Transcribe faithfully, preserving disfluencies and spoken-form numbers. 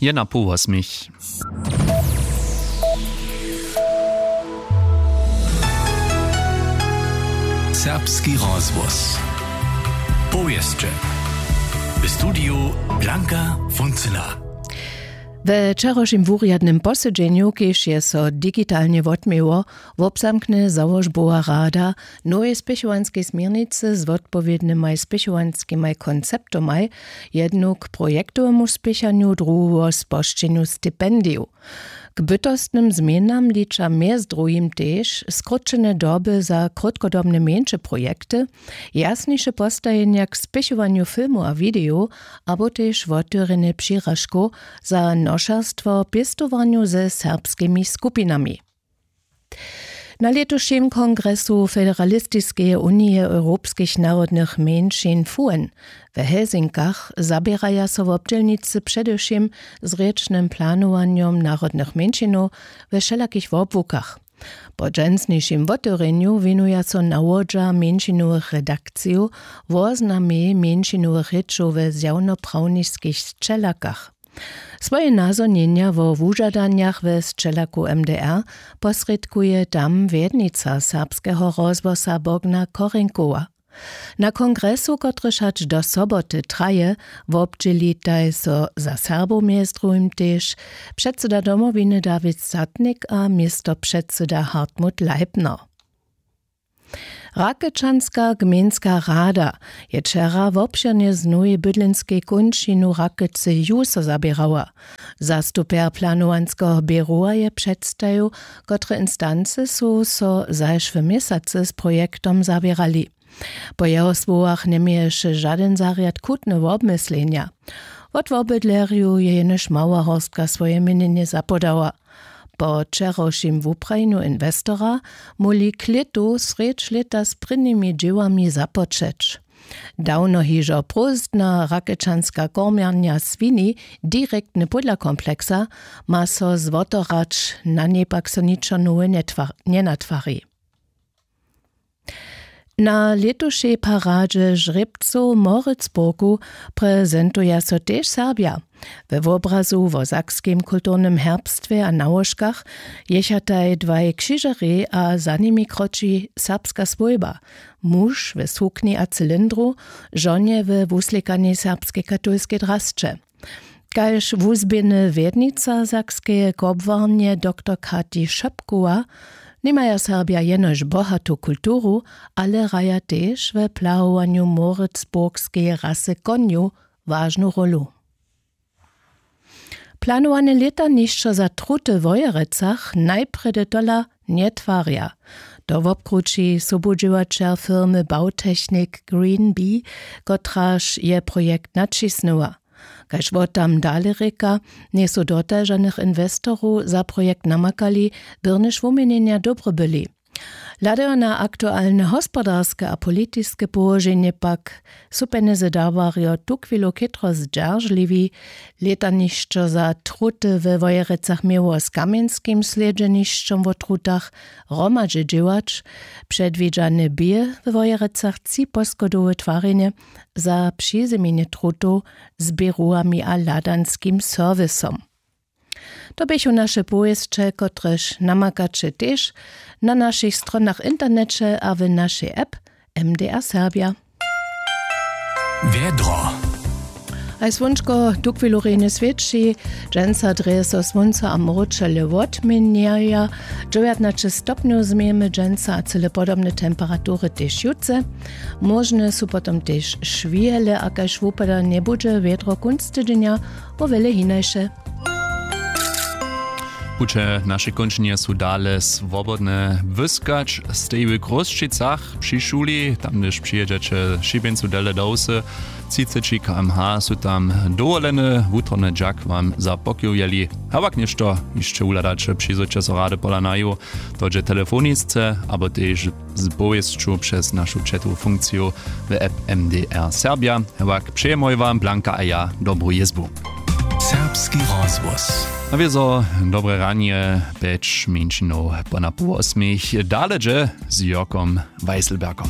Jedna połosmich. Serbski rozhłos. Powěsće. W studiju Blanka Funcyna. We wčerawšim wurjadnym posedźenju, kiž je so digitalnje wotměło, wobzamkny załožbowa rada nowej spěchowanskej směrnicy z wotpowědnymaj spěchowanskimaj konceptomaj, jednu k projektowemu spěchanju, druhu wo spožčenju stipendijow. K bytostnym změnam liča mjez druhim tež skrótšene doby za krótkodobne mjeńše projekty, jasniše postajenja k spěchowanju filmow a widejow, abo tež wotewrjenje přiražkow za nošerstwo w pěstowarnju ze serbskimi skupinami. Na lětušim kongresu Federalistiskeje unije europskich narodnych mjeńšin FUEN w Helsinkach zaběraja so wobdźělnicy předewšěm z rěčnym planowanjom narodnych mjeńšinow we wšelakich wobłukach. Po dźensnišim wotewrjenju wěnuja so nawodźa mjeńšinowych redakcijow woznamej mjeńšinowych rěčow we zjawnoprawniskich sćelakach. Swoje nazhonjenja wo wužadanjach we sćelaku M D R posrědkuje tam wjednica serbskeho rozhłosa Bogna Korenkowa. Na kongresu, kotryž hač do soboty traje, wobdźělitaj so za Serbow mjez druhim tež předsyda Domowiny Dawid Satnik a městopředsyda Hartmut Leipner. Rakečanska gmejnska rada je wčera wobšěrnje z nowej bydlenskej kónčinu Rakece ju so zaběrała. Zastupjer planowanskeho běrowa je předstajił, kotre instancy su so zašłe měsacy z projektom zaběrali. Po jeho słowach njeměješe žadyn zarjad chutne wobmyslenja. Wot wobydlerjow je jenož mała horstka swoje měnjenje zapodała. Po wčerawšim wuprajenju inwestora móhli klětu srjedź lěta z prěnimi dźěłami započeć. Dawno hižo prózdna rakečanska kormjarnja swini, direktny pódla kompleksa, ma so złotorać, na njej pak so ničo nowe njetwa-, njenatwari. Na lětušej paradźe žrěbcow w Moritzburgu prezentuja so tež Serbja. We wobrazu wo sakskim kulturnym herbstwje a nałožkach jechataj dwaj křižerjej a za nimi kroči serbska swójba, muž we sukni a cylindru, žonje we wuslěkanej serbskej katolskej drasće. Kaž wuzběhny wjednica sakskeje kobłarnje doktor Kati Šopkowa, nimaja Serbja jenož bohatu kulturu, ale hraja tež we plahowanju moritzburgskeje rasy konjow wažnu rólu. Planowane lětanišćo za truty w Wojerecach najprjedy tola njetwarja. To wobkrući sobudźěłaćer firmy Bautechnik Green Bee, kotraž je projekt naćisnyła. Kaž wot tam dale rěka, njejsu dotal žanych inwestorow za projekt namakali, byrnjež wuměnjenja dobre byli. Hladajo na aktualne hospodarske a politiske połoženje pak, su pjenjezy dawarjo tuchwilu chětro zdźeržliwi. Lětanišćo za truty we Wojerecach měło z kamjenskim slědźenišćom wo trutach hromadźe dźěłać. Předwidźane bě we Wojerecach tři poschodowe twarjenje za přizymjenje trutow z běrowami a hladanskim serwisom. To běchu naše powěsće, kotrež namakaće tež na našich stronach w interneće a w našej app M D R Serbja. Wjedro. Haj słónčko tuchwilu rjenje swěći. Dźensa drje so słónco a mróčele wotměnjaja. Dźewjatnaće stopnjow změjemy dźensa a cyle podobne temperatury tež jutře. Móžne su potom tež šwihele a kaž wupada njebudźe wjedro kónc tydźenja wo wjele hinaše. Puće našej kónčinje su dale swobodne. Wyskać stej w Chrósćicach při šuli, tam hdyž přijědźeće šibjeńcu dele do wsy, třiceći km/h su tam dowolene. Wutrobny dźak wam za pokiwjeli. Hewak něšto hišće wuhladaće, přizwójće so rady pola naju, to dźe telefonisce abo tež z powěsću přez našu četowu funkciju w app M D R Serbja. Hewak přejemoj wam Blanka a ja dobru jězbu. Serbski rozhłos. A wězo dobre ranje, pjeć mjeńšinow po na pół wosmich, dale dźe z Jórkom Weisselbergom.